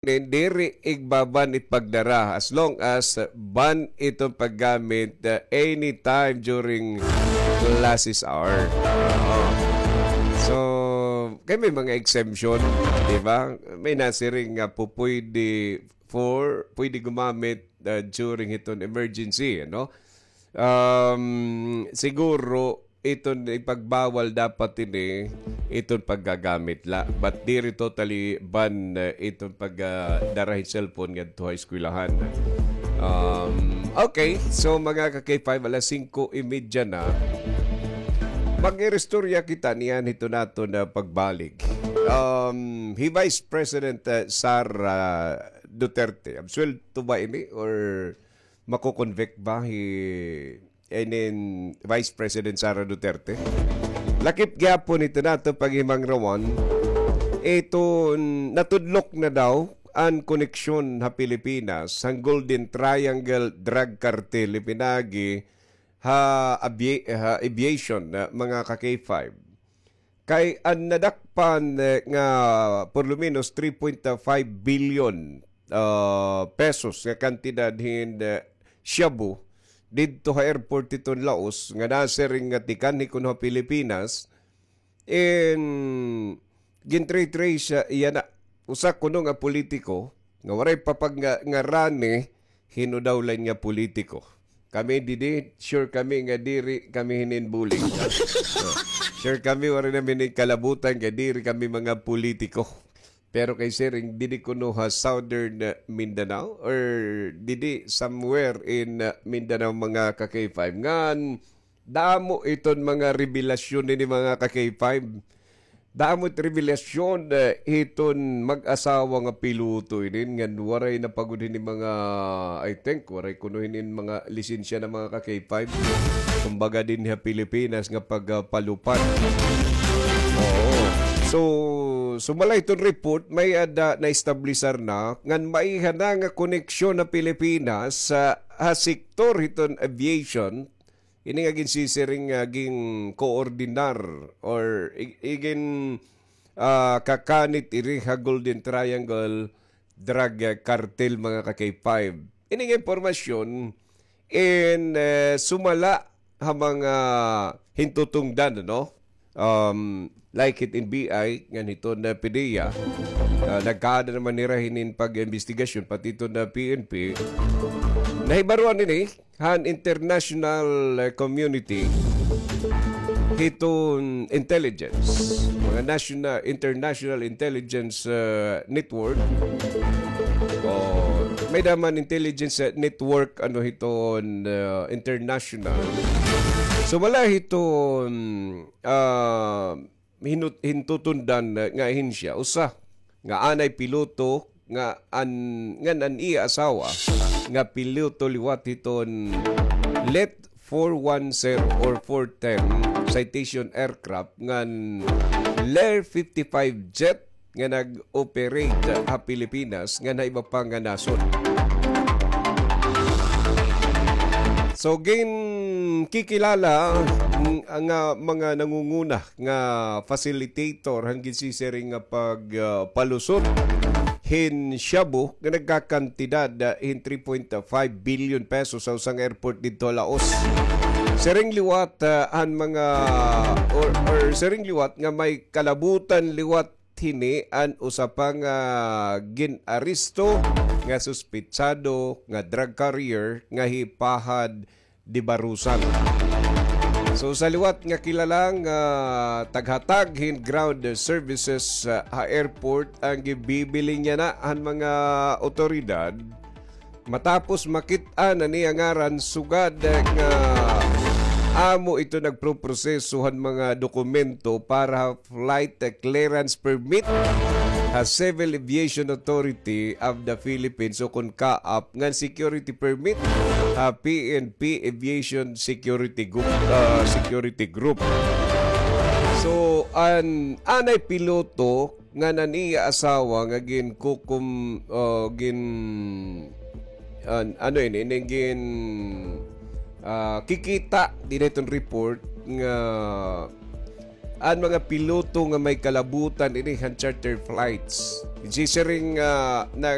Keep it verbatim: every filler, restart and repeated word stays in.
diri igbaban it pagdara as long as, uh, ban iton paggamit, uh, anytime during classes hour. Oo. So, kay may mga exemption, di ba? May nasiring nga pupwede for, pwede gumamit, uh, during hiton emergency, ano? Um, siguro, iton ipagbawal dapat ini, iton paggagamit la. But diri totally ban, uh, iton pag, uh, dara hin cellphone ngadto ha eskwelahan. Um, okay, so mga ka-K five, alas singko y media na. Mag-iristorya kita niyan hito naton pagbalik. Um, hi Vice President, uh, Sara Duterte, absuwelto ba ini or mako-convict ba hi, inin Vice President Sara Duterte? Lakip gihapon ito naton paghimangrawan. Ito, natudlok na daw an koneksyon ha Pilipinas han Golden Triangle drug cartel, ipinagi ha abie-, ha aviation, na mga ka-K five. Kay an nadakpan, eh, nga por lo menos three point five billion, ah, pesos nga kantidad hin, eh, shabu didto ha airport hiton Laos nga nasiring nga tikanhi kuno ha Pilipinas, in gintre-trace iya na usa kuno nga politiko nga waray pa pag nga, ngarani, hin-o daw la ini nga politiko. Kami didi, sure kami nga diri kami hinin bully. Sure kami, waray nami hinin kalabutan nga diri kami mga politiko. Pero kay siring, didi kuno ha Southern, uh, Mindanao or didi somewhere in, uh, Mindanao, mga ka-K five. Ngan, damo iton mga revelasyon ini, mga ka-K five. Damo it revelasyon, eh, hiton mag-asawa nga piloto inin ngan waray na pa gud hini mga, I think, waray kuno hinin mga lisensya na, mga ka-K five. Kumbaga dinhi ha Pilipinas nga pagpalupad. Oo. So, sumala hiton report, may-ada naestablisar na ngan maiha na nga koneksyon ha Pilipinas sa, ha sektor hiton aviation, ini nga ginsisiring nga gin-koordinar or i-, igin, ah, kakanit iri ha Golden Triangle drug, ah, cartel, mga ka-K five. Ini nga impormasyon in, eh, sumala ha mga hintutungdan, ano? Um, like hit in B I, ngan hiton PDEA. Ah, nagkaada naman nira hinin pag-imbestigasyon, pati hiton P N P. Nahibaruan ini han international, eh, community hiton intelligence, mga national, international intelligence, eh, network. O, may-ada man intelligence, eh, network, ano, hiton, eh, international. So, wala hiton, ah, hinut-, hintutundan nga ahensya, usa nga anay piloto nga an-, ngan an iya asawa nga piloto liwat hiton Lit four one zero or four ten Citation aircraft ngan Lir fifty-five jet nga nag-operate ha Pilipinas ngan ha iba pa nga nasod. So, ginkikilala nga mga nangunguna nga facilitator han ginsisiring nga pag, ah, palusot hin shabu nga nagkakantidad, ah, hin three point five billion pesos sa usa nga airport didto ha Laos. Siring liwat, ah, an mga, or, or siring liwat nga may kalabutan liwat hini an usa pa nga gin-aresto nga suspetsado nga drug carrier nga hi Pahad Dibarusan. So, usa liwat nga kilala nga taghatag hin ground services, ah, ha airport an ginbibiling yana han mga awtoridad. Matapos makit-an an iya ngaran, sugad nga amo ito nagproproseso han mga dokumento para ha flight clearance permit ha Civil Aviation Authority of the Philippines, o kon CAAP, ngan security permit ha P N P Aviation Security Group, ah, Security Group. So, an anay piloto ngan an iya asawa nga ginkukum-, ah, gin-, an-, ano ini, ini gin-, ah, kikita dinhi hiton report nga an mga piloto nga may kalabutan ini han charter flights. Gisiring, ah, na